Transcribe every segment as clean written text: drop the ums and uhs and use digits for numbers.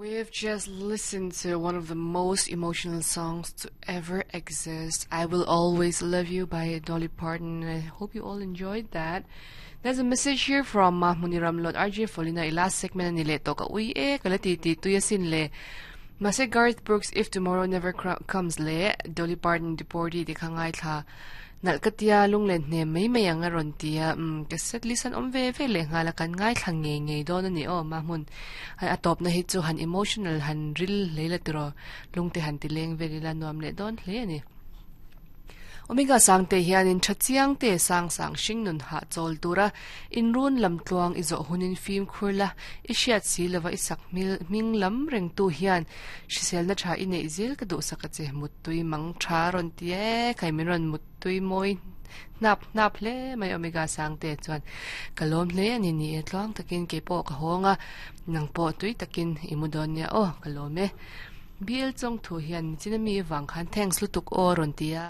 We've just listened to one of the most emotional songs to ever exist, I Will Always Love You by Dolly Parton. I hope you all enjoyed that. There's a message here from Mahmuni Ramlot RJ Folina i last segment ani le to ka ui e ka la ti ti tuya sin le. Mase Garth Brooks If Tomorrow Never Comes le Dolly Parton Deportee ti kha ngaithla Nalh ka tia, lunglen hnem mai mai ang a rawn ti a, umm ka set list an awm ve ve leh nghal a, kan ngaithla ngei ngei dawn a ni aw mahmun a tawpna hi chu han emotional han ril hlei la tiraw lungte han ti leng vel ila nuam leh dawn hle a ni. Omega Sangte hianin tha chiang te sang sang hring nun hah chawl tura inrun lam tluang i zawh hunin fimkhur la i hriat si lova i sak hming lam rengtu hian hriselna tha i neih zel ka duhsak a che mut Tui mang tha rawn ti e, kai min rawn mut tui mawi hnap hnap hle mai Omega Sangte chuan ka lawm hle a ni ni e tluang takin kei pawh ka hawng a, nang pawh tui takin i mu dawn nia aw ka lawm e. BL Chawngthu hian nichin ami vang khan thanks lutuk aw rawn ti a.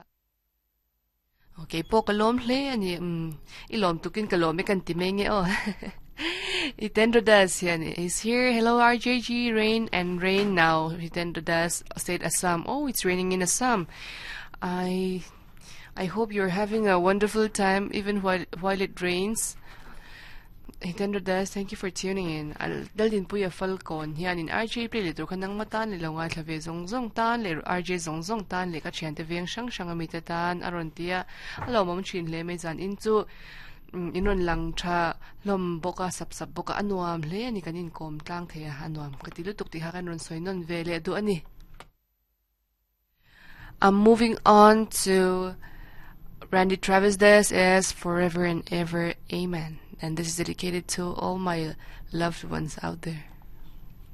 Kei pawh ka lawm hle a ni. Umm, i lawm tukin ka lawm e kan ti mai nge aw. Hitendra Das hian is here. Hello RJG, rain and rain now. Hitendra Das, state Assam. Oh, it's raining in Assam. I I hope you're having a wonderful time even while while it rains. Hitendra Das, thank you for tuning in. Al Daldinpuia Falkawn hianin RJ play leh tur kha nangma tan leh lo ngaithla ve zawng zawng tan leh RJ zawng zawng tan leh ka thiante veng hrang hrang ami te tan a rawn ti a, a lawmawm thin hle mai zan in chu in rawn lang tha hlawm bawk a, sap sap bawk a, a nuam hle a ni kan inkawm tlang thei a, a nuam ka ti lutuk tih kha kan rawn sawi nawn ve leh duh a ni. I'm moving on to Randy Travis. This is Forever and Ever, Amen. And this is dedicated to all my loved ones out there.